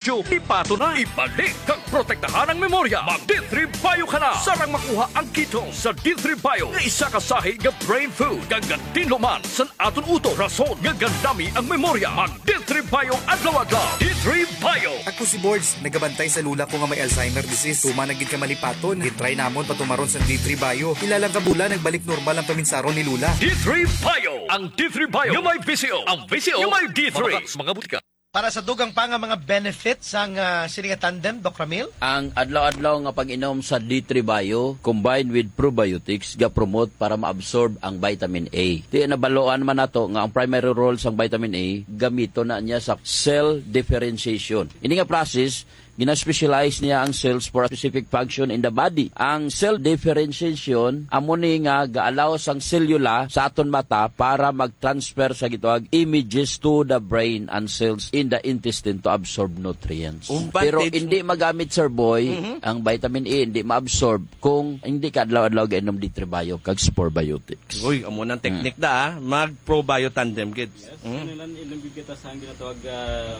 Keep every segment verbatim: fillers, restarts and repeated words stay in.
Yo, ipato na, ibalik kag protektahan ang memorya. Mag D three Bio ka na. Sarang makuha ang ketone sa D three Bio nga isa ka sahi nga brain food. Kag gatinlo man san aton utok, rason nga gandami ang memorya. Mag D three Bio adlaw-adlaw. D three Bio. Ako si Borge, nagabantay sa lula ko nga may Alzheimer disease. Tuman na gid ka malipaton. Gitry namon patumaron sa D three Bio. Pila lang ka bulan, nagbalik normal ang paminsaron ni Lula. D three Bio. Ang D three Bio nga may V C O. Ang V C O nga may D three. Mabakal sa mga butika. Para sa dugang pa nga mga benefits sang, ah, sini nga tandem, Doc Ramil? Ang adlaw-adlaw nga pag-inom sa D three Bio combined with probiotics ga-promote para ma-absorb ang vitamin A. Ti nabaloan man nato nga ang primary role sang vitamin A gamiton na niya sa cell differentiation. Ini nga process, gina-specialize niya ang cells for a specific function in the body. Ang cell differentiation amo ni nga ga-allow sang selula sa aton mata para mag-transfer sa gitawag images to the brain and cells in the intestine to absorb nutrients. Pero hindi magamit, Sir Boy, ang vitamin E hindi ma-absorb kung hindi ka adlaw-adlaw gainom D three Bio kag Spore Biotics. Uy, amo nang technique da, ah. Mag-probio tandem gid. Yes, kinahanglan inom gid kita sa ang ginatawag, ah,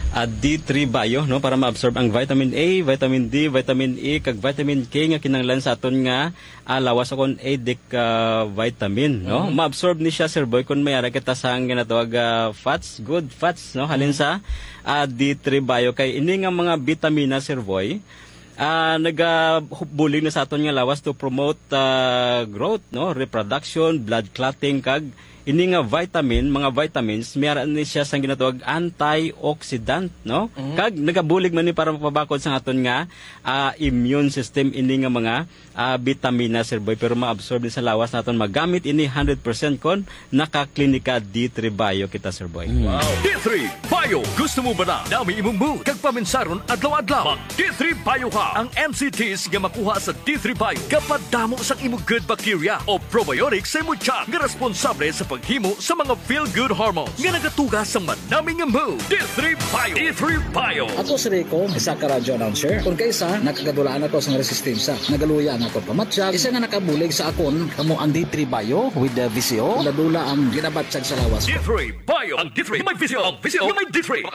ah, D three Bio, no, para ma-absorb ang vitamin A, vitamin D, vitamin E, kag vitamin K nga kinahanglan sa aton nga, ah, lawas, o kon adic, ah, vitamin, no? Ma-absorb ni siya, Sir Boy, kung may ara kita sa ang ginatawag, ah, fats, good fats, no, halin sa, ah, D three Bio. Kay ini nga mga bitamina, Sir Boy, ah, nagabulig na sa aton nga lawas to promote, ah, growth, no, reproduction, blood clotting, kag ini nga vitamin, mga vitamins, may ara ni siya sang ginatawag antioxidant, no? Kag nagabulig man ni para mapabakod sa aton nga, ah, immune system ini nga mga, ah, bitamina, Sir Boy, pero maabsorb ni sa lawas naton magamit ini hundred percent kon naka-Klinika D three Bio kita, Sir Boy. Wow. D three Bio. Gusto mo ba na dami imong mood kag paminsaron adlaw-adlaw? Mag D three Bio ka. Ang N C Ts nga makuha sa D three Bio gapadamo sang imo good bacteria o probiotics sa imo tiyan nga responsable sa paghimo sa mga feel-good hormones nga nagatuga sa manami nga mood. D three Bio. D three Bio. Ako si Rico, isa ka radyo announcer. Kung kaisa, nakagadulaan ako sang resistensya. Nagaluya ang akon pamatyag. Isa nga nakabulig sa akon, kamo ang D three Bio with the V C O. Dula-dula ang ginabatyag sa lawas ko. D three Bio. Ang D three may V C O. Ang V C O may D three.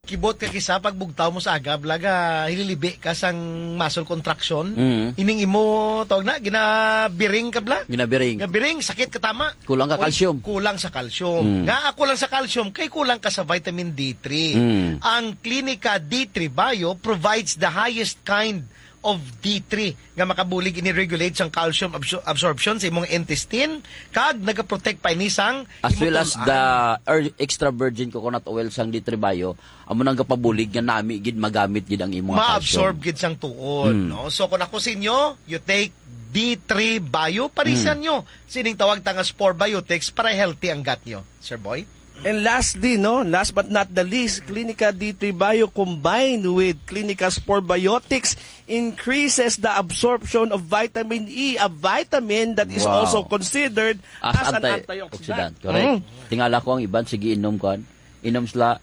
Kibot ka kisa pag bugtaw mo sa aga, bla, ga hililibi ka sang muscle contraction. Mm. Ining imo, tawag na, ginabiring ka, bla? Ginabiring. Gabiring, sakit ka tama. Kulang ka Uy, calcium. Kulang sa calcium. Mm. Nga, ah, kulang sa calcium, kay kulang ka sa vitamin D three. Mm. Ang Klinika D three Bio provides the highest kind of D three nga makabulig ini regulate sang calcium absor-, absorption sa imong intestine, kag nagaprotect pa ini sang As well as imutol-an. The er-, extra virgin coconut oil sang D three Bio, amo nang gapabulig nga nami gid magamit gid ang imong calcium. Ma-absorb gid sang tuod, Mm. no? So, kung ako sa inyo, you take D three Bio, parisan Mm. nyo sining tawag ta nga Spore Biotics para healthy ang gut nyo, Sir Boy. And lastly, no, last but not the least, Klinika D three Bio combined with Klinika Spore Biotics increases the absorption of vitamin E, a vitamin that is Wow. also considered As as an antioxidant. antioxidant. Correct. Mm. Tingala ko ang iban, sige, inom ko. Inom sila,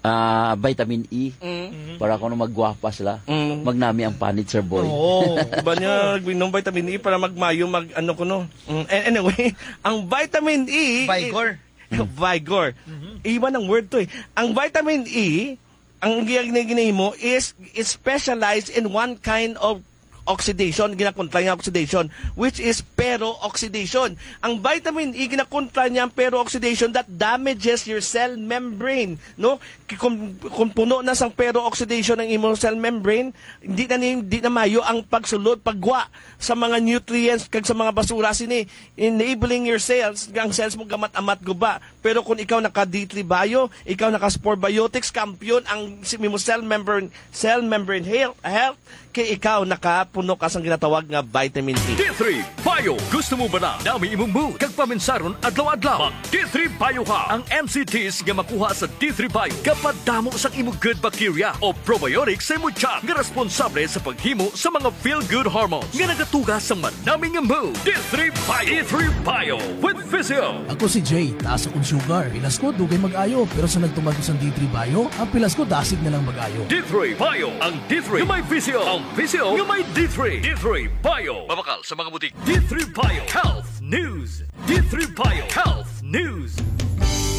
ah, vitamin E Mm. para kuno maggwapa sila. Mm. Magnami ang panit, Sir Boy. Oo. Ba niya, nag-inom vitamin E para magmayo, mag, ano ko, no? Mm, a-, anyway, ang vitamin E, Vigor. Mm. Vigor. Mhm. Iba ng word to eh. Ang vitamin E, ang gina-, gina-, ginahimo is, is specialized in one kind of oxidation, ginakontra niya oxidation, which is pero-oxidation. Ang vitamin E, ginakontra niya ang pero-oxidation that damages your cell membrane, no? Ki-, kung, kung puno na sang pero-oxidation ang imong cell membrane, hindi na ni-, hindi na mayo ang pagsulod, pagwa sa mga nutrients kag sa mga basura sini, enabling your cells, ang cells mo gamat-amat guba. Pero kung ikaw naka D three Bio, ikaw naka Spore Biotics, kampiyon ang si-, mo cell membrane, cell membrane health, health, kay ikaw nakapuno ka sang ginatawag nga vitamin E. D three Bio. Gusto mo ba na dami imong mood kag paminsaron adlaw-adlaw? Mag D three Bio ka. Ang N C Ts nga makuha sa D three Bio gapadamo sang imong good bacteria o probiotics sa imong tiyan nga responsable sa paghimo sa mga feel-good hormones nga nagatuga sa manami nga mood. D three Bio. D three Bio with Physio. Ako si Jay, taas akong sugar. Pilas ko, dugay mag-ayo. Pero sa nagtuman ko sa D three Bio, ang pilas ko dasig na lang mag-ayo. D three Bio. Ang D three nga may Physio. Ang Physio nga may D three. D three Bio. Mabakal sa mga butik. D three Bio Health News. D three Bio Health News.